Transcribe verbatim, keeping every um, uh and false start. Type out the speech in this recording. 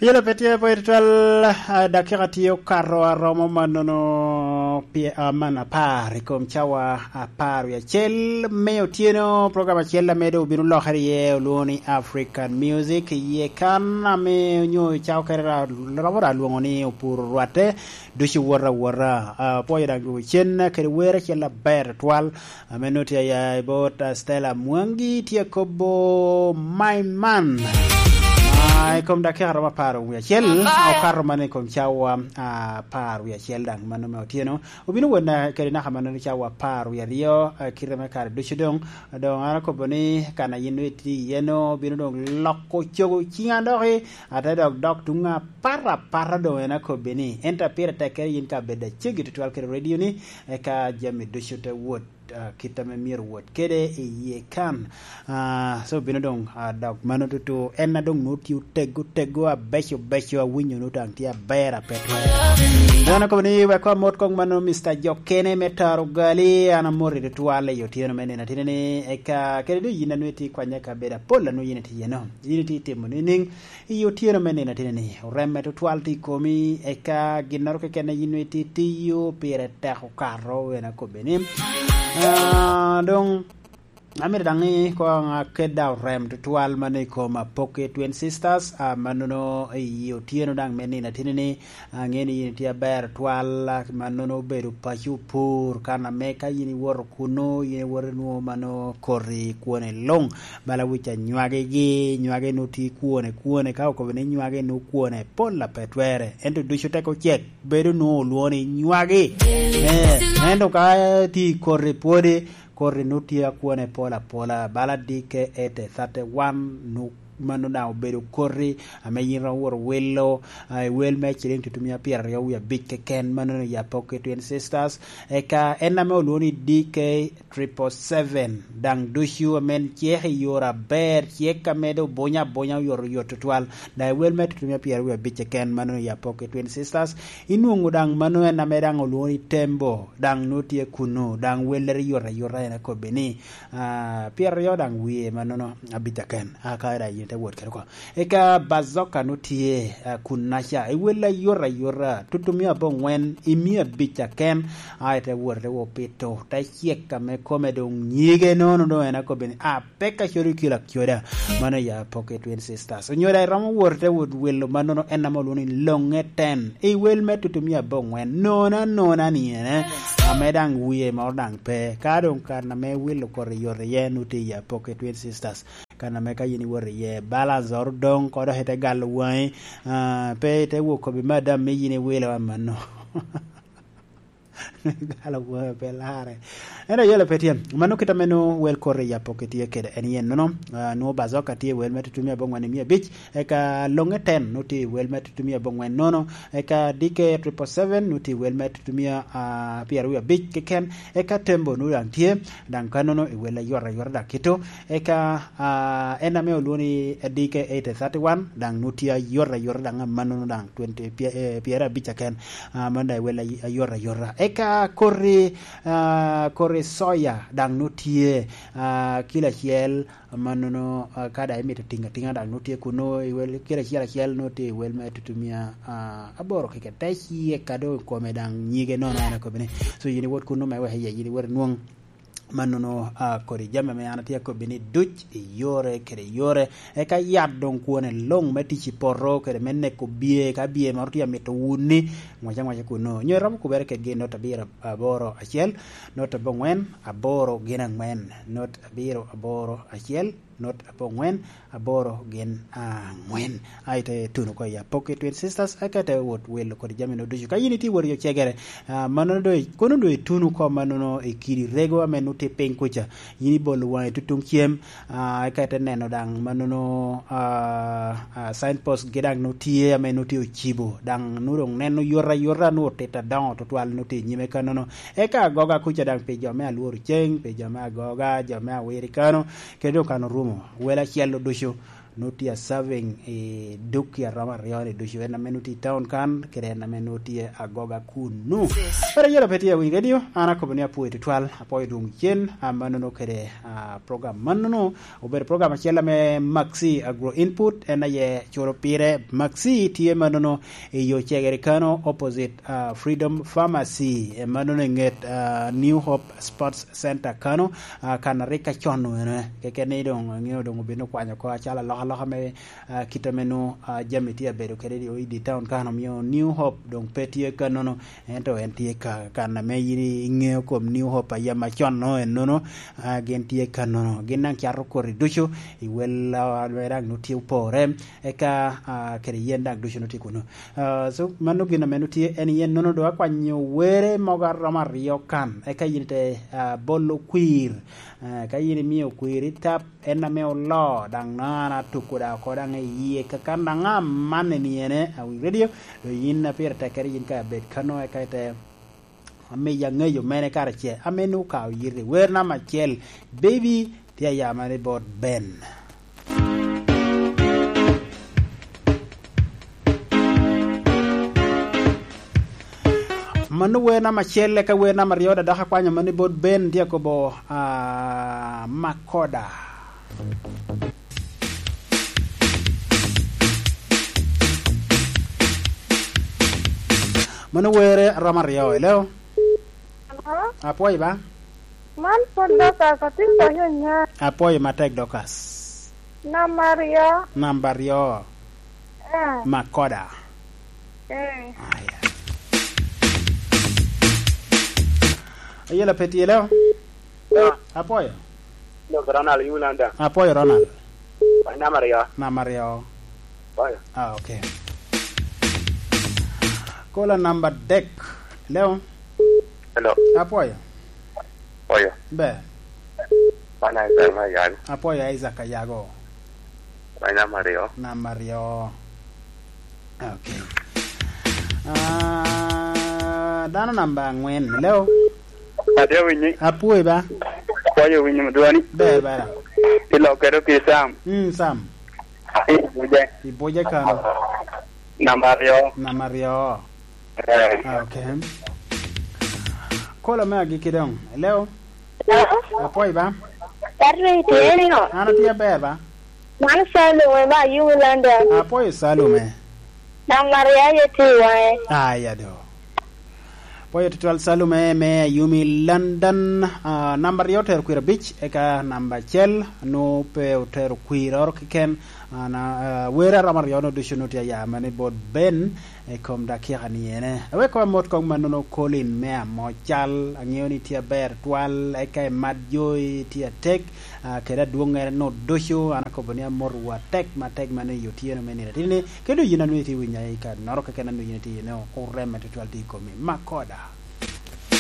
Yelo pe tye pwod twal, ah, dakika tye okato aromo mannono pye-, ah, man apar i kom cawa apar wie acel me otyeno. Program acel ame doŋ obino lokere iye olwoŋo ni African Music. Iye kan ame onyo cawa kere ra-, romo ra lwoŋo ni opuro rwatte, ducu wot awota. Ah, apwoyo daŋ dwogo cen kede wer acel aber twal. Ame nut tye aya i bot, ah, Stella Mwangi tye kobo my man. Ah, i kom dakika romo apar wie acel, okato mana i kom cawa, ah, apar wie acel daŋ mano me otyeno. Obino wot na-, kede naka mano ni cawa apar wie aryo, ah, kite me kare ducu doŋ. Doŋ an akobo ni kan a yin itye iye no, obino doŋ loko cogo ciŋa doki, ate dok dok tuŋ apat apata doŋ en akobbi ni. Ento pire tekkere yin ka bedo acegi tutwal kede radio ni, eka jami ducu te wot ah, kit ame myero wot kede i yie kan. Ah, so bino doŋ, ah, dok mano tutu. En a doŋ nwoŋo tye otego, otego, abeco, beco, awinyo nwoŋo daŋ tye aber, ape twere. Dano kobo ni, wek amot kong mano, Mister Jokene me Taro Gali, an amoti tutwal i otyeno me nino atini ni, eka, kede doŋ yin a nwoŋo itye kwanya ka bedo apol a nwoŋo yin itye iye no. Yin itye timo nining? I otyeno me nino ateni ni, oremme tutwal tye i komi, eka ginnoro keken a yin itye tiyo pire tek okato, en akobbe ni, ah, doŋ, amito daŋ ni koŋ aket daŋ orem tutwal man i kom Apoke Twin Sisters, ah, mannono i otyeno daŋ me nino ateni ni, aŋeo ni yin itye aber twal, ah, mannono obedo paco opur, kan ame ka yin iwoto kuno, yin iwoto inwoŋo mano koti kwone luŋ. Bala wic anywagigi, nywagi nu tye kwone, kwone, ka okobo ni nywagi nu kwone, pol a pe twere. Ento ducu tek ocek, bedo nu olwoŋo ni nywagi. Eh, ento ka tye i koti pwodi, koti nu tye akwone pol apola. Bala D K eighty thirty-one nu mano daŋ obedo koti ame yin romo wot owilo, ah, i wel me ciliŋ tutumia pyeraryo wie abic keken, mano ni Apoke Twin Sisters. Eka en ame olwoŋo ni D K triple seven, daŋ ducu ame cek i yore aber, cek ame doŋ bunyo abunya oyotoyot tutwal. Daŋ i wel me tutumia pyeraryo wie abic keken, mano i Apoke Twin Sisters. Inwoŋo daŋ mano en ame daŋ olwoŋo ni Tembo, daŋ nwoŋo tye kuno, daŋ wellere yot ayota, en akobbe ni, ah, pyeraryo daŋ wie mannono abic keken. Aka daŋ yin ite wot kede oko. Eka Bazoka nu tye, ah, kunnaca, i wel ayot ayota, tutumia aboŋwen, i mia abic keken, a ite wot ite wo pito, te cek ame kome doŋ nyige nono doŋ en akobbe ni, a, pek acodo kilo acoda. Mano ya Pocket Twin Sisters. Onyo daŋ iromo wot ite wot welo mannono en ame olwoŋo ni Loŋe Ten. I wel me tutumia aboŋwen, nona nona ni ene, ame daŋ wie moro daŋ pe. Ka doŋ kan ame wilo kore yot iye, nu tye ya Pocket Twin Sisters. Kan ame ka yin iwoto iye, balance oro doŋ, ko dok ite galo waŋi, ah, pe ite wok kobbi me adam me yin iwilo amanno. Galo waŋi pe larre. Ento yelo pe tye. Mano kit ame nwoŋo wel kore i Apoke tye kede en yen nono. Ah, nwoŋo Bazoka tye i wel me tutumia aboŋwen i mia abic, eka Loŋe Ten nwoŋo tye i wel me tutumia aboŋwen nono, eka D K triple seven nwoŋo tye i wel me tutumia, ah, pyeraryo abic keken, eka Tembo nwoŋo daŋ tye, daŋ kannono i wel ayot ayot daŋ kito. Eka, ah, en ame olwoŋo ni D K eighty thirty-one, daŋ nwoŋo tye ayot ayot daŋ amannono daŋ twenty, pye-, eh, pyerabicca ken, ah, mano daŋ i wel ay-, ayot ayota. Eka koti, ah, koti soya daŋ nwoŋo tye, ah, kilo acel, amannono, ah, ka daŋ imito tiŋo atiŋa daŋ nwoŋo tye kuno, i wel kilo acel acel nwoŋo tye i wel me tutumia, ah, aboro keken. Te ci eka doŋ i kome daŋ nyige nono en akobbi ni. So yin iwot kuno me wek iye, yin iwot inwoŋ mannono, ah, kodi jami ame an atye akobbi ni duc i yore kede yore. Eka yat doŋ kwone luŋ me tic i poto kede me neko bye, ka bye moro tye amito wuni, ŋwac aŋwaca kuno. Nyo iromo kubere kedgi i not abiro aboro acel, not aboŋwen aboro gin aŋwen, not abiro aboro acel, not aboŋwen aboro gin aŋwen. A ite tuno oko i Apoke Twin Sisters, eka ite wot wilo kodi jami no ducu. Ka yin itye wot i ocegere, ah, mannono doŋ i-, kono doŋ ituno oko mannono i kidi rego ame nwoŋo tye piny kuca. Yin ibolo waŋi tutuŋ cem, ah, eka ite neno daŋ mannono, ah, ah, signpost gi daŋ nwoŋo tye ame nwoŋo tye ocibo. Daŋ nwoŋo doŋ neno yot ayota, nwoŋo otit adoŋo tutwal nwoŋo tye i nyime kannono. Eka agoga kuca daŋ pi jo me alworo ceng, pi jo me agoga, jo me awiri kano, kede doŋ kan orumo. Wel acel oducu. nut tye a serving i duk i aromo aryo ni ducu. En ame nut tye i town kan, kede en ame nut tye agoga kunnu. Kara yelo pe tye awiny radio, an akobo ni apwoyo tutwal, apwoyo dwong cen, a, mannono kede, a, program mannono. Obedo program acel ame Maxi Agro Input, en aye culo pire. Maxi tye mannono i yo cegere kano, opposite, a, Freedom Pharmacy, e mannono i nget, a, New Hope Sports Center kano, a, kan a rik acon-nu ene. Keken ni dong, angeo dong obino kwanyo oko acalo alokaloka me, a, kit ame nwo, a, jami tye abedo kede i, i di town kan, omio New Hope dong pe tye kannono, ento en tye ka, kan ame yin iŋeo kom New Hope a yam acon-no ennono, a, gin tye kannono. Gin daŋ cato koti ducu, i wel, a, me daŋ nwo tye opore, eka, a, kede yen daŋ ducu nwo tye kunu. A, so, mano gin ame nwo tye en yen nono dong akwanyo were mogo aromo aryo kan, eka yin te, a, bolo kwir. A, ka yin imio kwir i tap, en ame oloo, daŋ nwoŋo an atuko daŋ oko daŋ i yie, kakan daŋ amanne ni ene, awinyo radio, dong yin a pire tekkere yin ka abed kano, eka ite amiyo aŋeyo mene karacel, ame nwoŋo okawo yiti. Wer namba acel, Baby, tye aya mene bot Ben. Mano wer namba acel, eka wer namba aryo, da dok akwanyo mano i bot Ben, tye akobo, ah, Makoda. Mano wer aromo aryo, hello? Hello? Apwoyo ba? Man pwod Dorcas, atye konyo nya. Apwoyo matek, Dorcas. Namba aryo. Namba aryo. Eh. Makoda. Eh. Aya. Ayela pe tye, hello? Ah. Apwoyo. Dok Ronald Yulanda. Apwoyo, Ronald. Wan namba aryo. Namba aryo. Apwoyo. Ah, okay. Kola namba adek. Hello? Hello. Apwoyo. Apwoyo. Ber. Wan Isaac Mayago. Apwoyo, Isaac Ayago. Wan namba aryo. Namba aryo. Okay. Ah, dano namba angwen. Hello? Atye winyi. Apwoyo ba? Apwoyo winyi mudwoni. Ber, ber. Ilokere pi Sam. Mm, Sam. Ibuje. Ibuje kano. Namba aryo. Namba aryo. Eh. Ah, okay. Kola me agikki dong. Hello? Hello? Apwoyo ba? Patrick, tye ni o? An atye aber ba? Man Salume ba, Yumi London. Apwoyo Salume. Namba aryo aye tye i waŋe. Aya do. Pwoyo tutwal Salume me Ayumi London. Ah, namba aryo otero kwir abic, eka namba acel nwo pe otero kwiroro keken. Ah, na, ah, wer aromo aryo no ducu nwo tye aya mene bot Ben i kom dakika ni ene. Awek kong amot kong mannono Colin me Amocal. Aŋeo ni tye aber twal, eka imat jo i tye atek. Ah, kede adwoŋŋere no ducu, an akobo ni amotowu atek, matek mano i otyeno me nino atini, kede yin a nwoŋo itye winyo i kanoro keken a nwoŋo yin itye ine, orem tutwal tye i komi. Makoda.